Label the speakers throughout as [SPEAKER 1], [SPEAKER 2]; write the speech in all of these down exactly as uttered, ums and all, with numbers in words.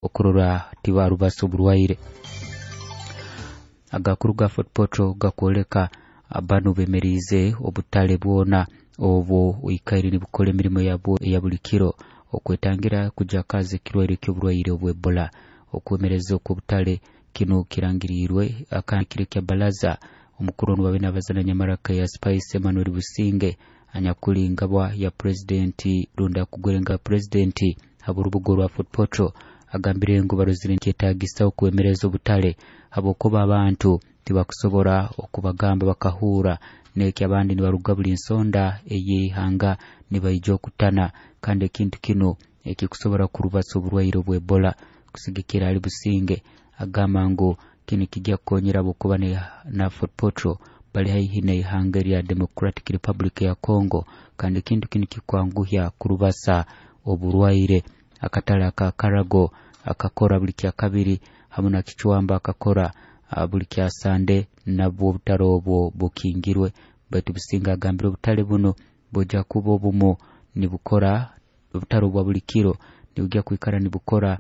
[SPEAKER 1] Okurora tibarubasa oburwaire. Agakuru ga Fort Portal gakwoleka banu bemeriize obutale bwona obwo oikaire nibukora emirimo yabwo eya buli kiro okwetangira kujakaza ekirwaire ky'oburwaire obw'Ebola. Okwemereza okw'obutale kinu kirangiriirwe akandikire kya balaza omukuru onu babe nabazana nyamaraka ya Spice Emmanuel Businge, anyakuli ngabwa ya purezidenti rundi akugwere nga purezidenti habw'orubuga orwa Fort Portal, agambire ngu barozire nikyetagisa okwemereza obutale habwokuba abantu tibakusobora okubagamba bakahura neki abandi nibaruga buli nsonda ey'eihanga nibaija okutana, kandi ekintu kinu ekikusobora kurubasa oburwaire obw'Ebola. Kusigikira ali Businge, agamba ngu kinu kijja kukonyera habwokuba na Fort Portal bali haihi n'eihanga erya Democratic Republic ya Congo, kandi ekintu kinu kikwanguhya kurubasa oburwaire. Akatale aka Karago akakora buli kyakabiri, hamu na Kichwamba akakora buli kyasande, nabwo obutale obwo bukingirwe. Baitu Businge agambire obutale buno bujja kuba obumu nibukora, obutale obwa buli kiro nibujja kwikara nibukora,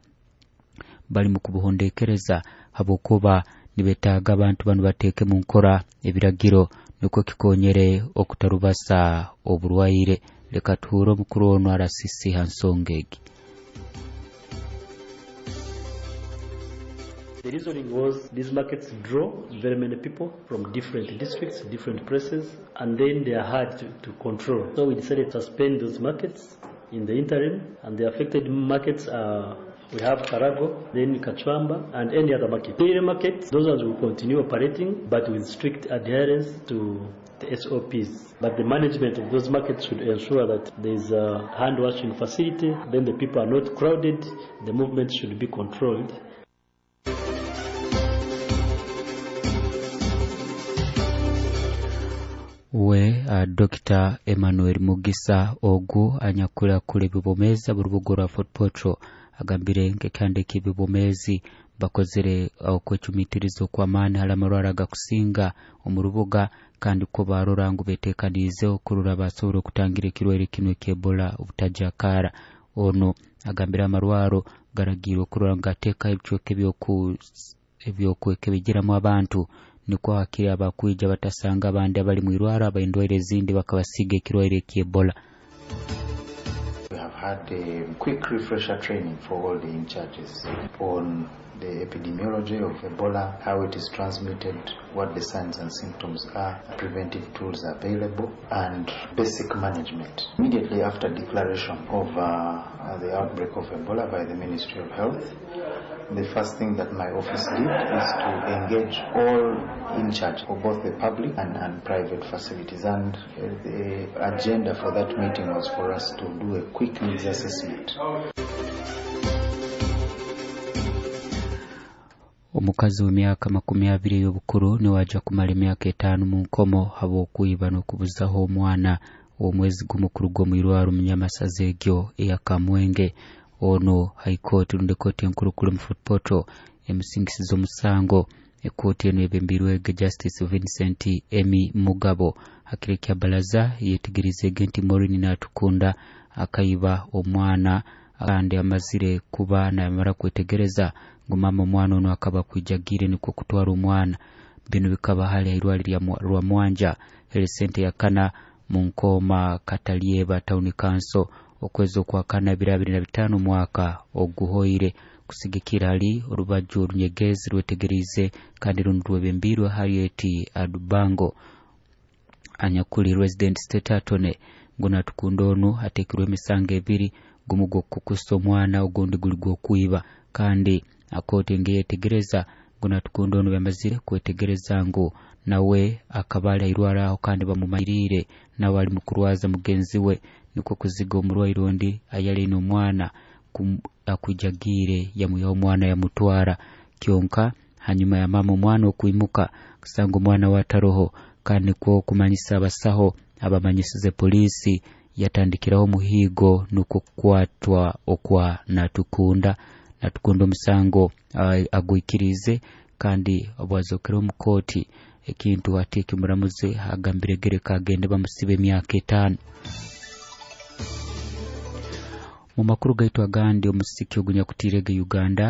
[SPEAKER 1] bali mu kubuhondekereza habwokuba nibetaaga abantu banu bateeke mu nkora ebiragiro nukwo kikonyere okutarubasa oburwaire. Leka tuhure omukuru onu arasisi ha nsonga egi.
[SPEAKER 2] The reasoning was these markets draw very many people from different districts, different places, and then they are hard to, to control. So we decided to suspend those markets in the interim, and the affected markets are, we have Karago, then Kachwamba, and any other market. Daily markets, those ones will continue operating, but with strict adherence to the S O Ps. But the management of those markets should ensure that there is a hand washing facility, then the people are not crowded, the movement should be controlled.
[SPEAKER 1] We uh, Doctor Emmanuel Mugisa ogu anyakulakula ebibomeza burubugo rwa Fort Portal agambire nk'ekihanda eky'ebibomezi bakozere okwecumitiriza okw'amaani hali amarwara agakusinga omu rubuga, kandi ko barora ngu beteekaniize okurora basobora okutangira ekirwaire kinu eky'Ebola obutajakara. Ono agambire amarwaro garagiirwe okurora ngu gateekaho ebicweka ebyokwekebejeramu abantu, nikwo hakiri abakwija batasanga abandi abali mu irwaro abaindwaire ezindi bakabasiga ekirwaire eky'Ebola.
[SPEAKER 3] We have had a quick refresher training for all the in charges on the epidemiology of Ebola, how it is transmitted, what the signs and symptoms are, preventive tools available, and basic management. Immediately after declaration of uh, the outbreak of Ebola by the Ministry of Health, the first thing that my office did is to engage all in charge of both the public and, and private facilities. And uh, the agenda for that meeting was for us to do a quick needs assessment.
[SPEAKER 1] Omukazi w'emyaka makumi abiri ey'obukuru niwe kumara emyaka etaano mu nkomo habw'okwiba n'okubuzaho omwana omwezi gumu kuruga omu irwaro mu Nyamasaza egyo eya Kamwenge. Ono High Court rundi kooti enkuru kuri mu Fort Portal emusingisiza omusango. Ekooti eno ebembirwege Justice Vincent Emi Mugabo hakire kya balaza yetegereze nti Maureen Natukunda akaiba omwana kandi amazire kuba namara kwetegereza ngu mama omwana ono akaba kwijagire nikwo kutwara omwana. Bino bikaba hali airwali lya Rwamwanja health ya kana mu Nkoma Katalieba Town Council okwezi okwa kana bibiri abiri na bitaano mwaka oguhoire. Kusigikira hali orubaju orunyegezi rwetegerize kandi rundi rwebembirwe Harriet Adubango anyakuli resident state attorney ngu Natukunda onu atekirwe emisango ebiri, gumu gw'okukusa omwana ogundi guli gw'okwiba, kandi akooti ngeyetegereza ngu Natukunda onu bamazire kwetegereza ngu nawe akaba ali airwara aho kandi bamumanyiriire nawe ali mukurwaza mugenzi we, nikwo kuziga omurwaire ondi ayali aine omwana akwijagiire yamwihaho omwana yamutwara. Kyonka hanyuma ya mama omwana okwimuka kusanga omwana we ataroho, kandi nikwo kumanyisa abasaho abamanyisize polisi yatandikiraho omuhiigo nukwo kukwatwa okwa Natukunda. Natukunda omusango agwikirize kandi obwazokere omu kooti ekintu ate ekimuramuzi agambire gereka agende bamusibe emyaka etaano. Mu makuru gaitu agandi, omusiki ogunyakutiirege Uganda